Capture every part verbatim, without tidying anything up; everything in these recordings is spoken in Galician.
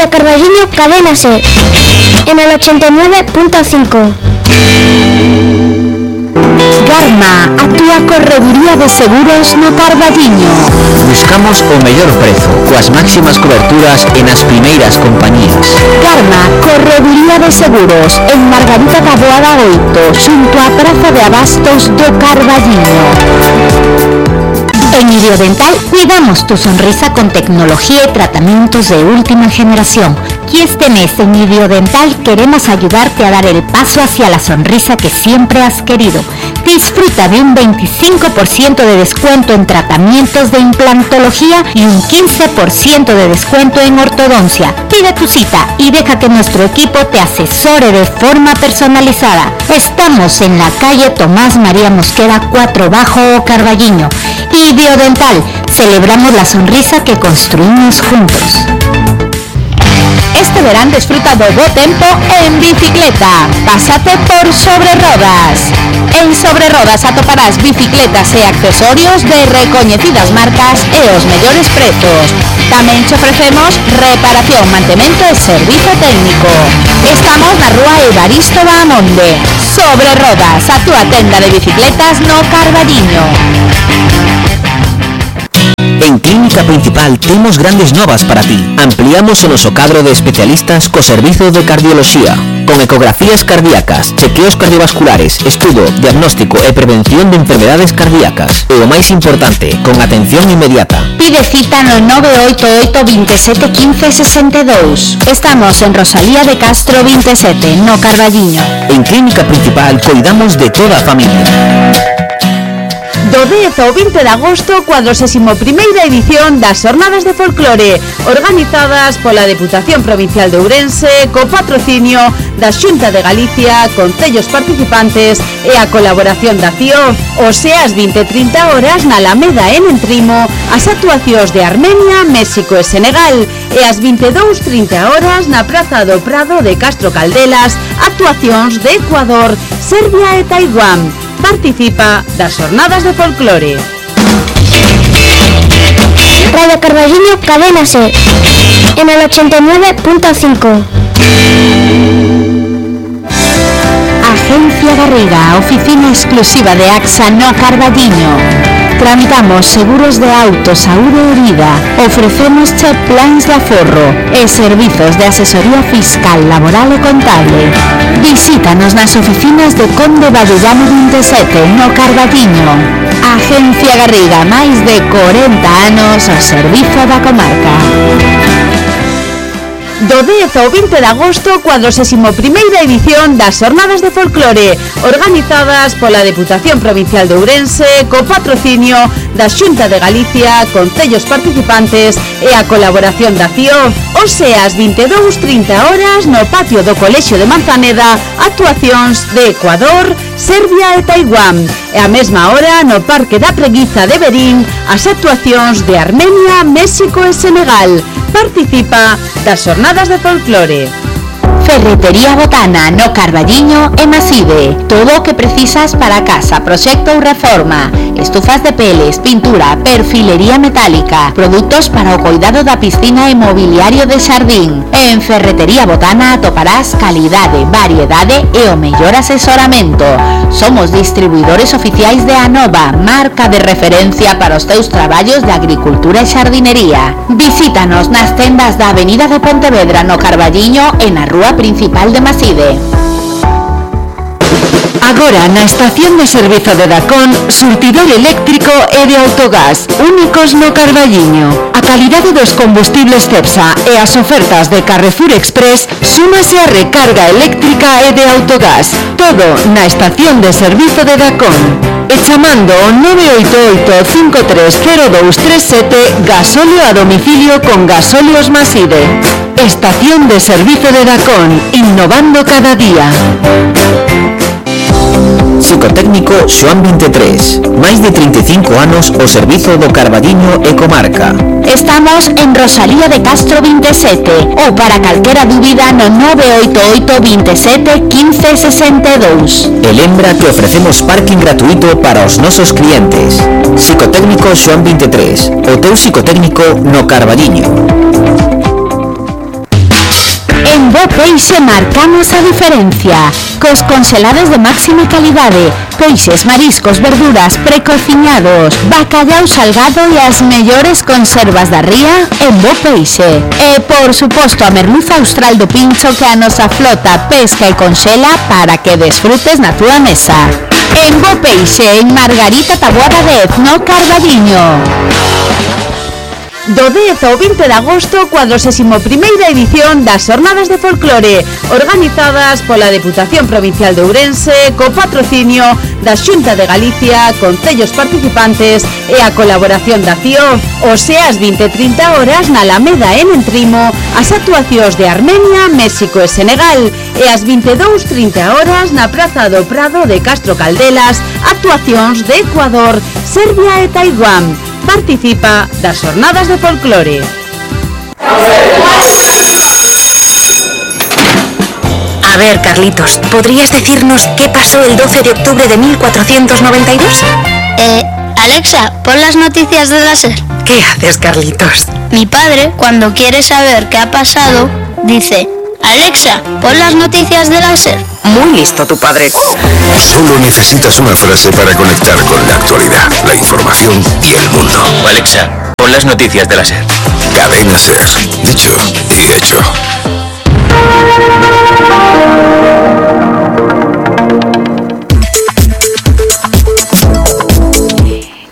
Radio Carballiño, Cadena SER, en el ochenta y nueve punto cinco. Garma, a túa correduría de seguros no Carballiño. Buscamos o mellor prezo, coas máximas coberturas e nas primeiras compañías. Garma, correduría de seguros, en Margarita Taboada oito, xunto á Praza de Abastos do Carballiño. En Idiodental cuidamos tu sonrisa con tecnología y tratamientos de última generación. Y este mes en Idiodental queremos ayudarte a dar el paso hacia la sonrisa que siempre has querido. Disfruta de un veinticinco por ciento de descuento en tratamientos de implantología y un quince por ciento de descuento en ortodoncia. Pide tu cita y deja que nuestro equipo te asesore de forma personalizada. Estamos en la calle Tomás María Mosquera cuatro Bajo Carballiño. Idiodental, celebramos la sonrisa que construimos juntos. Este verán disfruta do bo tempo en bicicleta. Pásate por Sobre Rodas. En Sobre Rodas atoparás bicicletas e accesorios de recoñecidas marcas e os mellores prezos. Tamén te ofrecemos reparación, mantemento e servizo técnico. Estamos na rúa Evaristo Bahamonde. Sobre Rodas, a túa tenda de bicicletas no Carballiño. En Clínica Principal temos grandes novas para ti. Ampliamos o noso cadro de especialistas co servizo de cardioloxía, con ecografías cardíacas, chequeos cardiovasculares, estudo, diagnóstico e prevención de enfermedades cardíacas. E o máis importante, con atención inmediata. Pide cita no nove oito oito, veintisiete, quince, sesenta e dous. Estamos en Rosalía de Castro veintisiete, no Carballiño. En Clínica Principal cuidamos de toda a familia. Do dez ao vinte de agosto, cuadragésima primeira edición das Xornadas de Folclore, organizadas pola Deputación Provincial de Ourense, co patrocinio da Xunta de Galicia, concellos participantes e a colaboración da C I O. O sea, ás vinte e trinta horas na Alameda en Entrimo, as actuacións de Armenia, México e Senegal, e ás vinte e dous e trinta horas na Praza do Prado de Castro Caldelas, actuacións de Ecuador, Serbia e Taiwán. Participa das Xornadas de Folclore. Radio Carballiño, Cadena SER, en el ochenta y nueve punto cinco. Agencia Garriga, oficina exclusiva de AXA no Carballiño. Tramitamos seguros de auto, saúde e vida. Ofrecemos plans de aforro e servizos de asesoría fiscal, laboral e contable. Visítanos nas oficinas de Conde Badullano veintisiete, no Carballiño. Agencia Garriga, máis de corenta anos ao servizo da comarca. Do dez ao vinte de agosto, cuadragésima primeira edición das Xornadas de Folclore, organizadas pola Deputación Provincial de Ourense, co patrocinio da Xunta de Galicia, concellos participantes e a colaboración da C I O. O sea, ás vinte e dous e trinta horas no patio do Colexio de Manzaneda, actuacións de Ecuador, Serbia e Taiwán. E a mesma hora no Parque da Preguiza de Verín, as actuacións de Armenia, México e Senegal. Participa das Xornadas de Folclore. Ferretería Botana, no Carballiño e Maside. Todo o que precisas para casa, proxecto ou reforma. Estufas de peles, pintura, perfilería metálica, produtos para o cuidado da piscina e mobiliario de xardín. En Ferretería Botana atoparás calidade, variedade e o mellor asesoramento. Somos distribuidores oficiais de Anova, marca de referencia para os teus traballos de agricultura e xardinería. Visítanos nas tendas da Avenida de Pontevedra, no Carballiño e na Rúa Principal de Maside. Agora na estación de servizo de Dacón, surtidor eléctrico e de autogás, únicos no Carballiño. A calidade dos combustibles Cepsa e as ofertas de Carrefour Express súmase a recarga eléctrica e de autogás. Todo na estación de servizo de Dacón. E chamando o nove oito oito, cinco tres cero dous tres sete, gasóleo a domicilio con Gasóleos Maside. Estación de servizo de Dacón, innovando cada día. Psicotécnico Xoán veintitrés, máis de trinta e cinco anos ao servizo do Carballiño e comarca. Estamos en Rosalía de Castro veintisiete ou para calquera dúbida no nove oito oito, veintisiete, quince, sesenta e dous. E lembra que ofrecemos parking gratuito para os nosos clientes. Psicotécnico Xoán veintitrés, o teu psicotécnico no Carballiño. Peixe marcamos a diferencia. Cos congelados de máxima calidade, peixes, mariscos, verduras, precociñados, bacallau salgado e as mellores conservas da ría en Bo Peixe. E, por suposto, a merluza austral do Pincho que a nosa flota pesca e conxela para que desfrutes na túa mesa. En Bo Peixe, en Margarita Taboada dez, no Carballiño. Do dez ao vinte de agosto, cuadragésima primeira edición das Xornadas de Folclore, organizadas pola Deputación Provincial de Ourense, co patrocinio da Xunta de Galicia, concellos participantes e a colaboración da C I O. Ose ás vinte e trinta horas na Alameda en Entrimo, as actuacións de Armenia, México e Senegal, e ás vinte e dúas e trinta horas na Praza do Prado de Castro Caldelas, actuacións de Ecuador, Serbia e Taiwán. Participa das Xornadas de Folclore. A ver, Carlitos, ¿podrías decirnos qué pasó el doce de octubre de mil cuatrocientos noventa y dos? Eh, Alexa, pon las noticias de la SER. ¿Qué haces, Carlitos? Mi padre, cuando quiere saber qué ha pasado, dice: Alexa, pon las noticias de la SER. Muy listo tu padre. Solo necesitas una frase para conectar con la actualidad, la información y el mundo. Alexa, pon las noticias de la SER. Cadena SER. Dicho y hecho.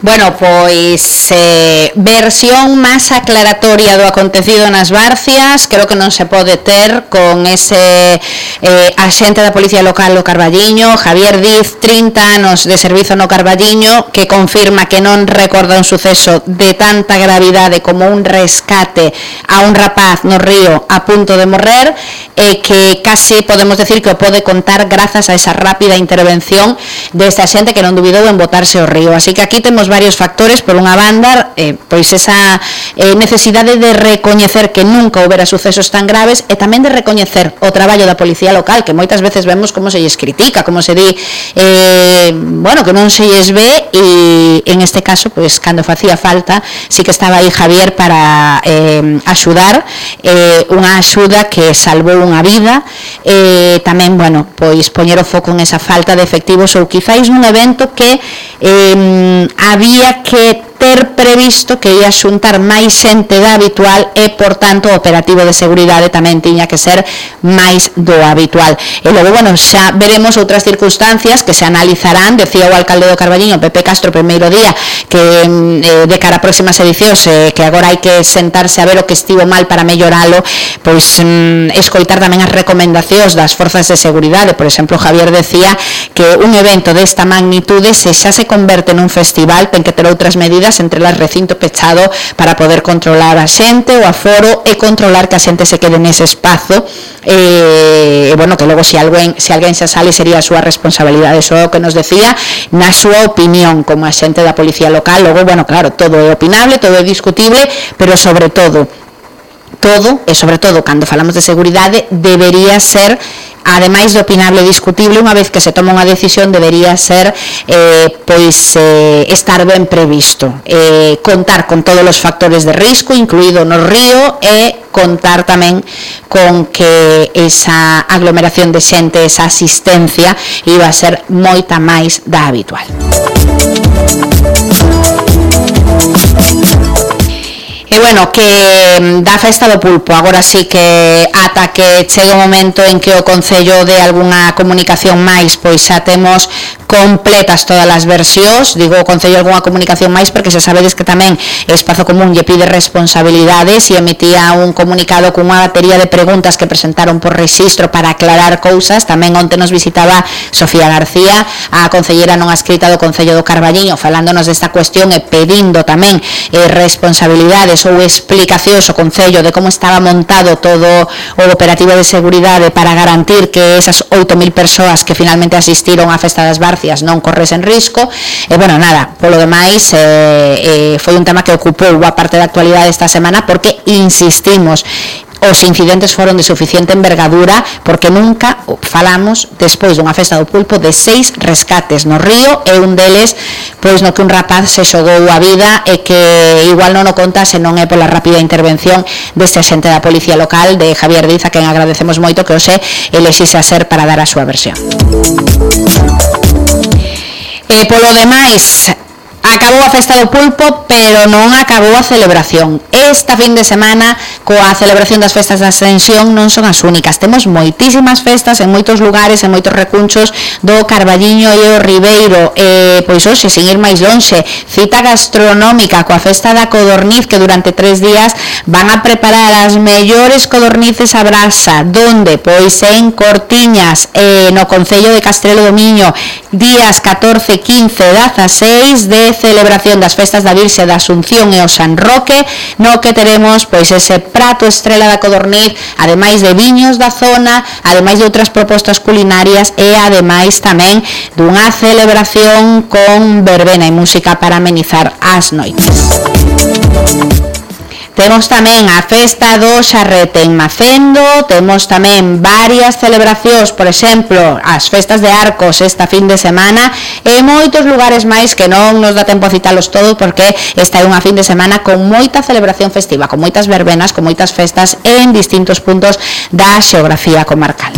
Bueno, pois eh, versión máis aclaratoria do acontecido nas Barcias creo que non se pode ter con ese eh, axente da Policía Local do Carballiño, Javier Diz, trinta anos de servizo no Carballiño, que confirma que non recorda un suceso de tanta gravidade como un rescate a un rapaz no río a punto de morrer, e que case podemos decir que o pode contar grazas a esa rápida intervención deste axente que non dubidou en botarse ao río. Así que aquí temos varios factores. Por unha banda, eh, pois esa eh, necesidade de recoñecer que nunca houbera sucesos tan graves, e tamén de recoñecer o traballo da Policía Local, que moitas veces vemos como se lles critica, como se di eh, bueno, que non se lles ve, e en este caso, pois cando facía falta, sí que estaba aí Javier para eh, axudar, eh, unha axuda que salvou unha vida, e eh, tamén, bueno, pois poñer o foco en esa falta de efectivos, ou quizáis nun evento que eh, había que ter previsto que ia xuntar máis xente da habitual, e, por tanto, o operativo de seguridade tamén tiña que ser máis do habitual. E logo, bueno, xa veremos outras circunstancias que se analizarán. Decía o alcalde do Carballiño, Pepe Castro, primeiro día, que eh, de cara a próximas edicións, eh, que agora hai que sentarse a ver o que estivo mal para melloralo, pois mm, escoitar tamén as recomendacións das forzas de seguridade. Por exemplo, Javier decía que un evento desta magnitude, se xa se converte nun festival, ten que ter outras medidas, entre las recinto pechado, para poder controlar a xente, o aforo, e controlar que a xente se quede nese espazo, e, e bueno, que logo se alguén, se alguén xa sale sería a súa responsabilidade. Eso é o que nos decía na súa opinión como a xente da Policía Local. Logo, bueno, claro, todo é opinable, todo é discutible, pero sobre todo todo, e sobre todo cando falamos de seguridade, debería ser, ademais de opinable e discutible, unha vez que se toma unha decisión, debería ser eh, pois eh, estar ben previsto, eh, contar con todos os factores de risco, incluído no río, e contar tamén con que esa aglomeración de xente, esa asistencia, iba a ser moita máis da habitual. E bueno, que da festa do pulpo, agora sí que ata que chegue o momento en que o Concello de algunha comunicación máis, pois xa temos completas todas as versións. Digo o Concello algunha comunicación máis porque xa sabedes que tamén Espazo Común lle pide responsabilidades e emitía un comunicado con unha batería de preguntas que presentaron por rexistro para aclarar cousas. Tamén onte nos visitaba Sofía García, a concellera non adscrita do Concello do Carballiño, falándonos desta cuestión e pedindo tamén eh, responsabilidades ou explicacións ao Concello de como estaba montado todo o operativo de seguridade para garantir que esas oito mil persoas que finalmente asistiron á Festa das Barcias non corresen risco. E bueno, nada, polo demais eh, eh, foi un tema que ocupou boa parte da actualidade esta semana, porque insistimos, os incidentes foron de suficiente envergadura, porque nunca falamos, despois dunha festa do pulpo, de seis rescates no río, e un deles pois no que un rapaz se xogou a vida, e que igual non o conta se non é pola rápida intervención deste axente da policía local, de Javier Diz, a quen agradecemos moito que hoxe elixixe a ser para dar a súa versión. E polo demais, acabou a festa do pulpo, pero non acabou a celebración. Esta fin de semana, coa celebración das festas da Ascensión, non son as únicas. Temos moitísimas festas en moitos lugares, en moitos recunchos do Carballiño e o Ribeiro. E, pois hoxe, sin ir máis lonxe, cita gastronómica coa festa da codorniz, que durante tres días van a preparar as mellores codornices a brasa, donde, pois en Cortiñas, eh, no Concello de Castrelo do Miño, días catorce, quince e dieciséis de celebración das festas da Virxe da Asunción e o San Roque, no que teremos pois ese prato estrela da codorniz, ademais de viños da zona, ademais de outras propostas culinarias, e ademais tamén dunha celebración con verbena e música para amenizar as noites. Temos tamén a festa do Xarrete en Macendo, temos tamén varias celebracións, por exemplo, as festas de Arcos esta fin de semana, e moitos lugares máis que non nos dá tempo a citalos todos, porque esta é unha fin de semana con moita celebración festiva, con moitas verbenas, con moitas festas en distintos puntos da xeografía comarcal.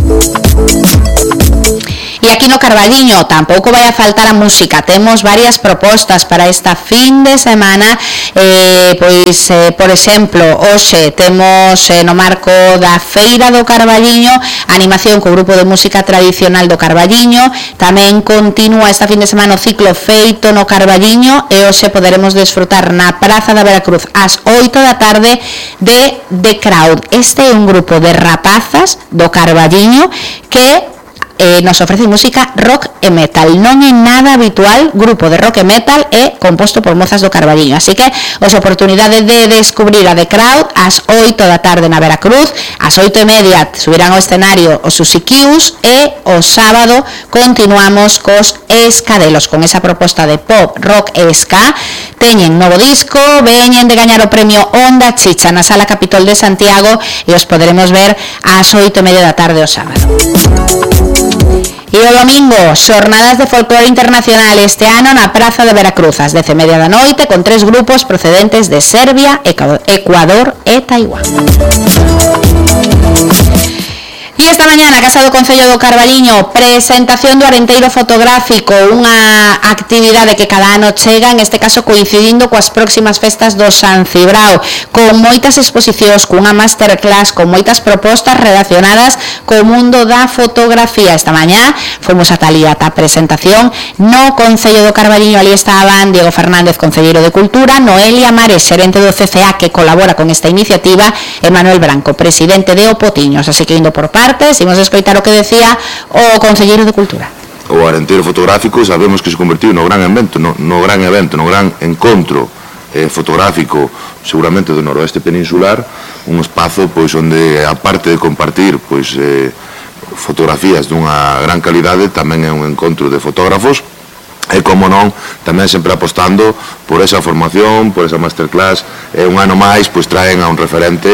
E aquí no Carballiño tampouco vai a faltar a música. Temos varias propostas para esta fin de semana, eh, pois, eh, por exemplo, hoxe temos eh, no marco da Feira do Carballiño animación co grupo de música tradicional do Carballiño. Tamén continúa esta fin de semana o ciclo Feito no Carballiño, e hoxe poderemos desfrutar na Praza da Veracruz ás oito da tarde de The Crowd. Este é un grupo de rapazas do Carballiño que Eh, nos ofrece música rock e metal. Non é nada habitual grupo de rock e metal e composto por mozas do Carballiño, así que os oportunidade de descubrir a The Crowd ás oito da tarde na Veracruz. Ás oito e media subirán ao escenario os Susiquius, e o sábado continuamos cos Escadelos con esa proposta de pop, rock e ska. Teñen novo disco, veñen de gañar o premio Onda Chicha na Sala Capitol de Santiago, e os poderemos ver ás oito e media da tarde o sábado. E o domingo, xornadas de folclore internacional este ano na Praza de Veracruz, ás dez e media da noite, con tres grupos procedentes de Serbia, Ecuador e Taiwán. E esta mañá na Casa do Concello do Carballiño, presentación do Arenteiro Fotográfico, unha actividade que cada ano chega, en este caso coincidindo coas próximas festas do San Cibrao, con moitas exposicións, cunha masterclass, con moitas propostas relacionadas co mundo da fotografía. Esta mañá fomos ata ali, ata a presentación no Concello do Carballiño. Ali estaban Diego Fernández, concelleiro de Cultura, Noelia Mares, xerente do C C A, que colabora con esta iniciativa, e Manuel Branco, presidente de Opotiños. Así que indo por parte, imos escoitar o que decía o concelleiro de Cultura. O Arenteiro Fotográfico sabemos que se convertiu no gran evento, no, no gran evento, no gran encontro eh, fotográfico seguramente do noroeste peninsular, un espazo pois onde, aparte de compartir pois eh, fotografías dunha gran calidade, tamén é un encontro de fotógrafos. E, como non, tamén sempre apostando por esa formación, por esa masterclass, e un ano máis, pois traen a un referente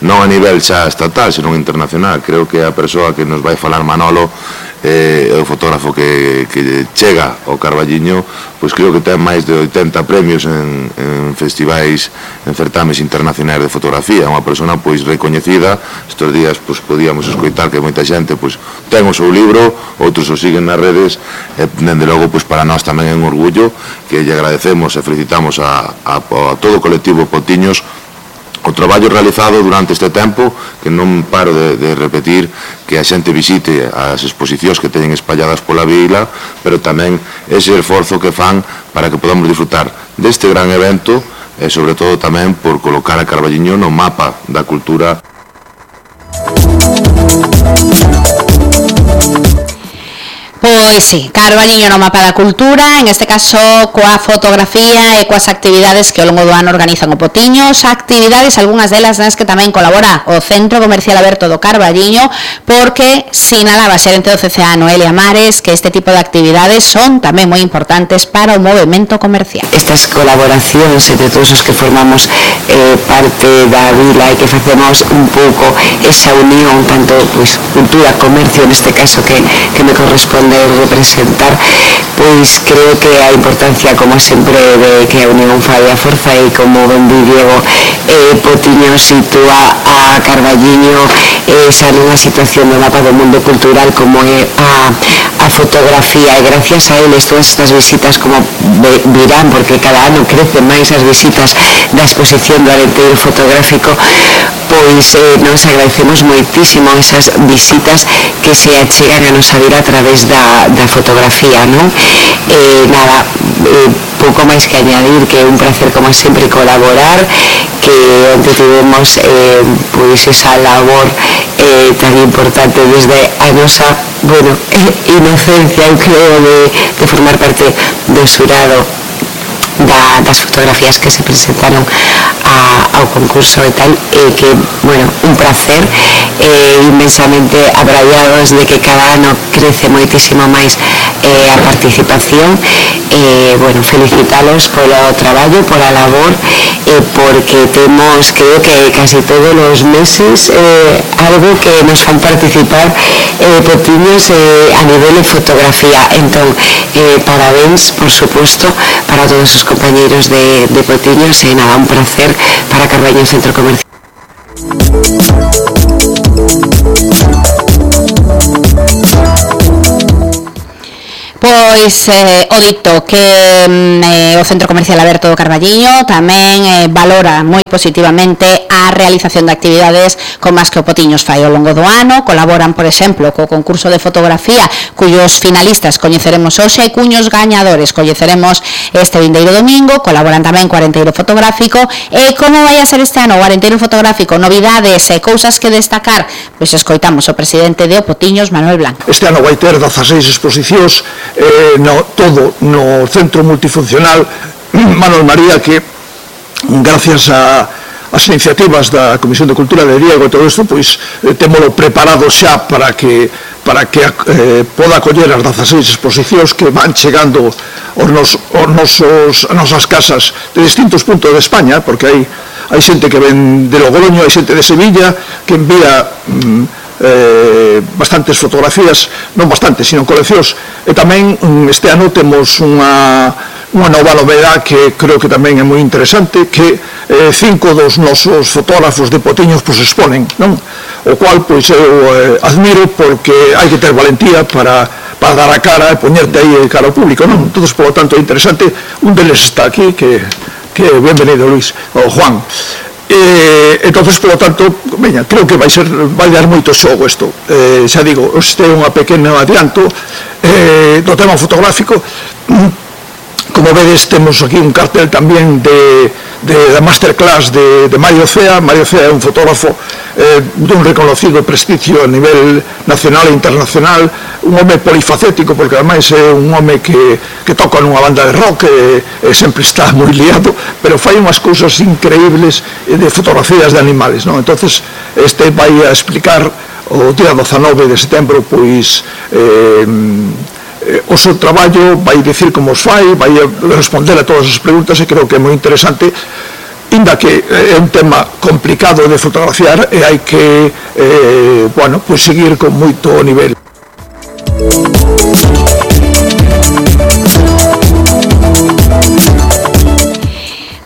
non a nivel xa estatal, senón internacional. Creo que a persoa que nos vai falar, Manolo, é o fotógrafo que, que chega ao Carballiño, pois creo que ten máis de oitenta premios en, en festivais, en certames internacionais de fotografía. Unha persona pois recoñecida. Estes días pois podíamos escoitar que moita xente pois ten o seu libro, outros o siguen nas redes, e dende logo pois para nós tamén é un orgullo, que lle agradecemos e felicitamos a, a, a todo o colectivo Potiños o traballo realizado durante este tempo, que non paro de, de repetir, que a xente visite as exposicións que teñen espalladas pola vila, pero tamén ese esforzo que fan para que podamos disfrutar deste gran evento, e sobre todo tamén por colocar a Carballiño no mapa da cultura. Pois sí, Carballiño no mapa da cultura, en este caso coa fotografía e coas actividades que ao longo do ano organizan o Potiños, actividades, algunhas delas nas que tamén colabora o Centro Comercial Aberto do Carballiño, porque sinalaba a xerente do C C A Noelia Mares que este tipo de actividades son tamén moi importantes para o movemento comercial. Estas colaboracións entre todos os que formamos eh, parte da vila e que facemos un pouco esa unión, tanto pues, cultura, comercio, neste caso que, que me corresponde de representar, pois creo que a importancia, como sempre, de que a unión fai a forza e como ben di Diego, eh, Potiño sitúa a Carballiño eh, xa nunha situación do mapa do mundo cultural como é a, a fotografía, e gracias a eles todas estas visitas como virán, porque cada ano crecen máis as visitas da exposición do Arenteiro fotográfico, pois eh, nos agradecemos moitísimo esas visitas que se achegan a nosa vila a través da Da, da fotografía, non? Eh, nada, eh, pouco máis que añadir, que é un placer como sempre colaborar, que onde tivemos eh, pois esa labor eh, tan importante desde a nosa, bueno, eh, inocencia, eu creo, de, de formar parte do xurado da, das fotografías que se presentaron a, ao concurso e tal, e que, bueno, un placer eh, inmensamente abraiados de que cada ano crece moitísimo máis eh, a participación, eh, bueno, felicitalos polo traballo, pola labor, eh, porque temos, creo que casi todos os meses eh, algo que nos fan participar eh, Potiños eh, a nivel de fotografía. Entón, eh, parabéns, por supuesto, para todos os compañeiros de, de Potiños, e nada, un placer para Carballiño Centro Comercial. Pois eh, o dito que eh, o Centro Comercial Aberto do Carballiño tamén eh, valora moi positivamente a realización de actividades como as que o Potiños fai ao longo do ano. Colaboran, por exemplo, co concurso de fotografía, cuyos finalistas coñeceremos hoxe, e cuños gañadores coñeceremos este vindeiro domingo. Colaboran tamén co Arenteiro fotográfico. E como vai a ser este ano o Arenteiro fotográfico? Novidades e cousas que destacar? Pois escoitamos o presidente de o Potiños, Manuel Blanco. Este ano vai ter dezaseis exposicións, Eh, no, todo no centro multifuncional Manuel María, que gracias a as iniciativas da Comisión de Cultura de Diego e todo isto, pois eh, témolo preparado xa para que para que eh, poda acoller as dezaseis exposicións que van chegando aos, nos, aos nosos, as nosas casas de distintos puntos de España, porque hai, hai xente que ven de Logroño, hai xente de Sevilla que envía mm, Eh, bastantes fotografías, non bastantes, sino coleccións, e tamén este ano temos unha, unha nova novedade que creo que tamén é moi interesante, que eh, cinco dos nosos fotógrafos de Potiños pois exponen, non? O cual pois eu eh, admiro, porque hai que ter valentía para para dar a cara e poñerte aí cara ao público, non? Entón, por lo tanto, é interesante. Un deles está aquí, que, que benvenido, Luis, o Juan. Eh, entonces, por lo tanto, veña, creo que vai ser vai dar moito xogo isto. Eh, xa digo, este é unha pequeno adianto eh, do tema fotográfico. Como vedes, temos aquí un cartel tamén de, de, de masterclass de, de Mario Cea. Mario Cea é un fotógrafo eh, dun reconocido prestigio a nivel nacional e internacional, un home polifacético, porque ademais é un home que, que toca nunha banda de rock e, e sempre está moi liado, pero fai unhas cousas increíbles de fotografías de animales, non? Entonces, este vai a explicar o día dezanove de setembro, pois eh, o seu traballo, vai dicir como os fai, vai responder a todas as preguntas, e creo que é moi interesante, inda que é un tema complicado de fotografiar e hai que eh, bueno, pues seguir con moito nivel.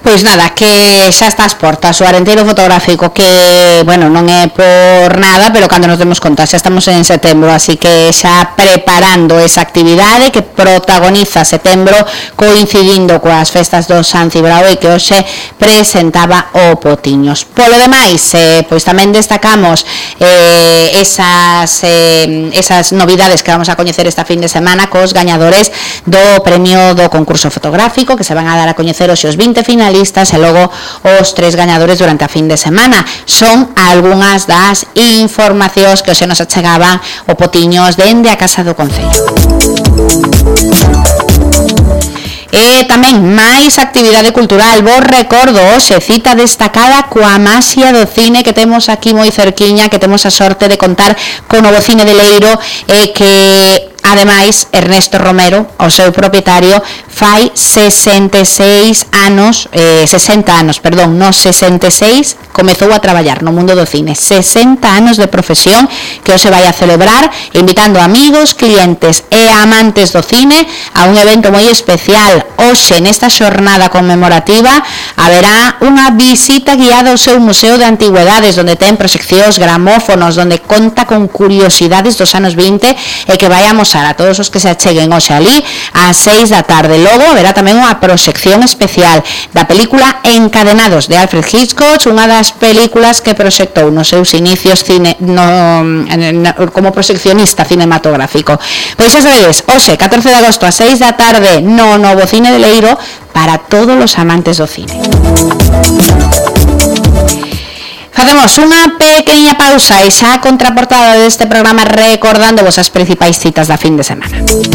Pois nada, que xa está ás portas o Arenteiro fotográfico, que, bueno, non é por nada, pero cando nos demos conta xa estamos en setembro, así que xa preparando esa actividade que protagoniza setembro, coincidindo coas festas do San Cibrao, e que hoxe presentaba o Potiños. Polo demais, eh, pois tamén destacamos eh, esas, eh, esas novidades que vamos a coñecer esta fin de semana cos gañadores do premio do concurso fotográfico, que se van a dar a coñecer hoxe os vinte finalistas finalistas e logo os tres gañadores durante a fin de semana. Son algunhas das informacións que se nos achegaban o Potiños dende a Casa do Concello. E tamén máis actividade cultural. Vos recordo, hoxe, cita destacada coa Maxia do Cine que temos aquí moi cerquiña, que temos a sorte de contar con o novo Cine de Leiro, e que ademais Ernesto Romero, o seu propietario, fai sesenta e seis anos, eh, sesenta anos, perdón, no sesenta e seis comezou a traballar no mundo do cine. sesenta anos de profesión que hoxe vai a celebrar, invitando amigos, clientes e amantes do cine a un evento moi especial. Hoxe, nesta xornada conmemorativa, haberá unha visita guiada ao seu Museo de Antigüedades, onde ten proxeccións, gramófonos, onde conta con curiosidades dos anos vinte, e que vai amosar a todos os que se acheguen hoxe ali ás seis da tarde. Logo haberá tamén unha proxección especial da película Encadenados de Alfred Hitchcock, unha das películas que proxectou nos seus inicios cine, no, no, como proxeccionista cinematográfico. Pois xa sabedes, hoxe, catorce de agosto a seis da tarde no novo Cine de Leiro, para todos os amantes do cine. Facemos unha pequena pausa e xa a contraportada deste programa recordando vos as principais citas da fin de semana.